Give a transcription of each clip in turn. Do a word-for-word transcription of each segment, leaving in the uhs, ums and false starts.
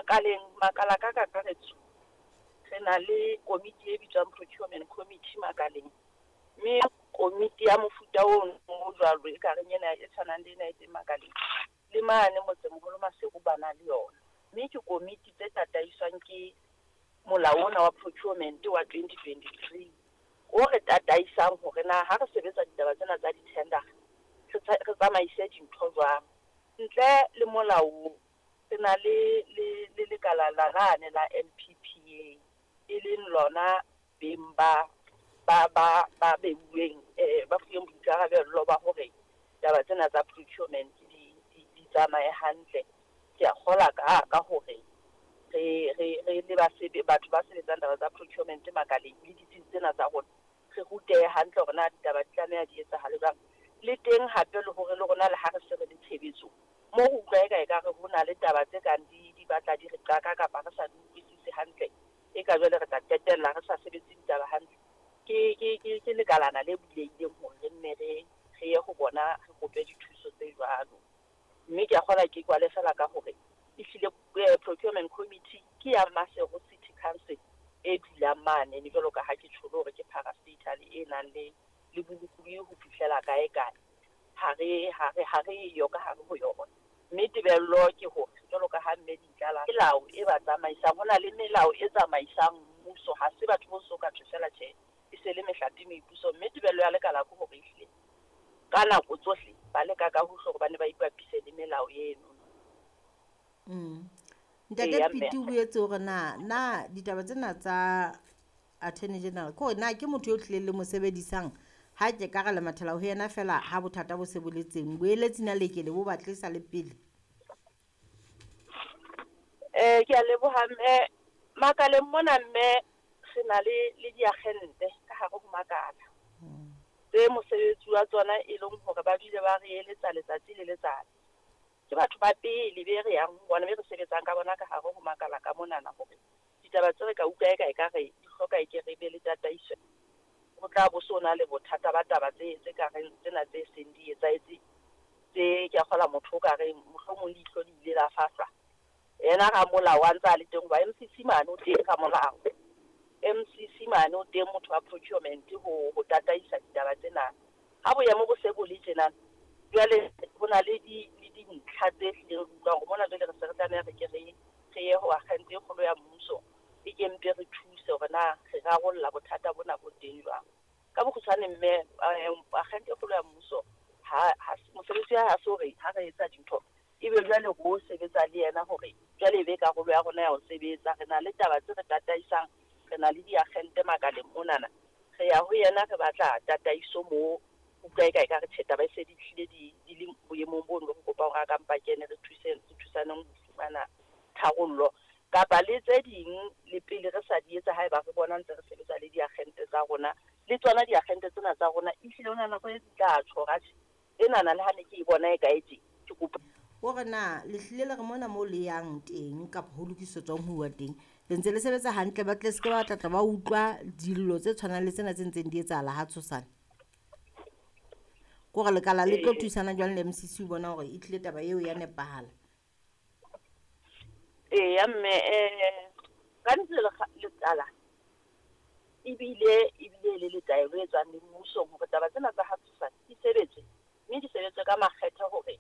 Makaleng, makala ka kakaretso, re na le komiti e bitswang procurement committee makaleng. Mme komiti ya mofuta ono o jwalo e ka reng ena e tshwanang le ena e teng makaleng, le mane motsemoholo Maseru ba na le yona. Mme ke komiti tse tataiswang ke molao ona wa procurement wa twenty twenty-three o re tataisang hore na ha re sebetsa ditaba tsena tsa di-tender re re tsamaise dintho jwang. Ntle le molao, re na le le le lekala la lane la N P P A, e leng lona beng ba ba ba ba beuweng, eh, ba fuweng boikarabello ba hore taba tsena tsa procurement di, di, di tsamaye hantle. Ke a kgola ka, ka hore re, re, re le basebe, batho ba sebetsang taba tsa procurement makaleng le ditsi tsena tsa rona, re rutehe hantle hore na ditaba di tlameha di etsahale jwang. Le teng hape le hore le rona le ha re se re le tshebetso, mo re utlwa eka ekare ho na le taba tse kang di, di batla di re qaka kapa re sa di utlwisise hantle, e ka jwale re tla qetella re sa sebetse ditaba hantle. Ke, ke, ke, ke lekalana le bulehileng hore re nne re, re ye ho bona, re kope dithuso tse jwalo. Mme ke a kgolwa ke kwale fela ka hore ehlile, eh, procurement committee ke ya Maseru City Council e dulang mane, le jwalo ka ha ke tjholo hore ke parastatal e nang le, le bolokolohi ho fihlela kae kae. Ha re, ha re, ha re yo ka hare ho yona. Mme tebello ke hore jwalo ka ha mme Dintlala, melao e ba tsamaisang, ho na le melao e tsamaisang mmuso, ha se batho bo so ka thwe fela tjhe, e se le mehlape mepuso. Mme tebello ya lekala ke hore ehlile ka nako tsohle ba leka ka hohle hore ba ne ba ipapise le melao eno. Mm. Ntate Eya, mme. Piti o boetse hore na, na ditaba tsena tsa Attorney General, ke hore na ke motho eo tlileng le mo sebedisang ha ke ka re le mathela ho yena fela ha bothata bo se bo le teng, boeletsi na le ke le bo batle sa le pele? Eh, ke a leboha mme. Makaleng mona mme re na le, le diagente ka hare ho makala. Mm. Tse mosebetsi wa tsona e leng hore ba dule ba re eletsa letsatsi le letsatsi. Ke batho ba pele be re yang ho bona, be re sebetsang ka bona ka hare ho makala ka monana, hore ditaba tse re ka utlwa eka ekare di hloka e ke re be le tataiso. Ho tla bo so na le bothata ba taba tse, tse ka reng tsena tse seng di etsahetse, tse ke a kgola motho o ka reng mohlomong leihlo le ile la fahlwa. Yena ramolao a ntse a le teng, hoba M C C mane o teng ramolao. M C C mane o teng motho wa procurement ho, ho tataisa ditaba tsena. Ha boemo bo se bo le tjena, jwale ho na le di, le dintlha tse hlileng re utlwa hore mona jwale re se re tlameha re ke re, re ye ho agente e kgolo ya mmuso, e ke mpe re thuse hore na re rarolla bothata bona bo teng jwang. Ka bokgutshwane mme, eh, agente e kgolo ya mmuso, ha, ha se, mosebetsi wa hae ha se hore ha re etsa dintho, ebe jwale ho sebetsa le yena hore jwale e be karolo ya rona ya ho sebetsa. Re na le taba tse re tataisang, re na le diagente makaleng monana, re ya ho yena re batla tataiso moo, utlwa eka ekare tjhe, taba e se di hlile di, di le boemong bono, re kopa hore a ka mpa kene re thuse, re thusaneng ho fumana tharollo. Kapa le tse ding le pele re sa di etsa, haeba re bona ntse re sebetsa le diagente tsa rona, le tsona diagente tsena tsa rona ehlile ho na nako e tla tjho hore atjhe, enana le ha ne ke e bona e kae tje, ke kopa Hore na le hlile le re mona moo le yang teng kapa ho lokisetswang ho uwa teng, le ntse le sebetsa hantle, ba tle se ke ba tla tla ba utlwa dillo tse tshwanang le tsena tse ntseng di etsahala ha tshosane. Ke hore lekala le tlo Ee. thusana jwang le M C C ho bona hore e tlile taba eo ya nepahala? Eya mme, eh, ka nnete lekala ebile, ebile le le taelo e tswang le mmusong hore taba tsena tsa ha tshosane di sebetswe, mme di sebetswe ka makgethe hore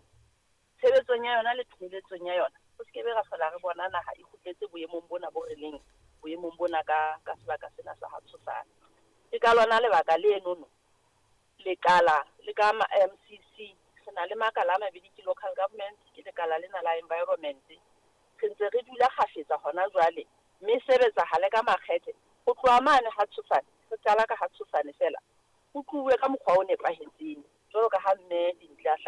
tshebetsong ya yona le pheletsong ya yona ho se ke be ra hlola re bona naha e kgutletse boemong bona bo re leng boemong bona ka, ka sebaka sena sa ha tshosane. Ke ka lona lebaka lenono lekala le ka ma M C C, re na le makala a mabedi, ke local government, ke lekala lena la environment. Re ntse re dula kgafetsa hona jwale, mme sebetsa hale ka makgethe ho tloha mane ha tshosane, re qala ka ha tshosane fela, ho tluwe ka mokgwa o nepahetseng jwalo ka ha mme Dintle a hla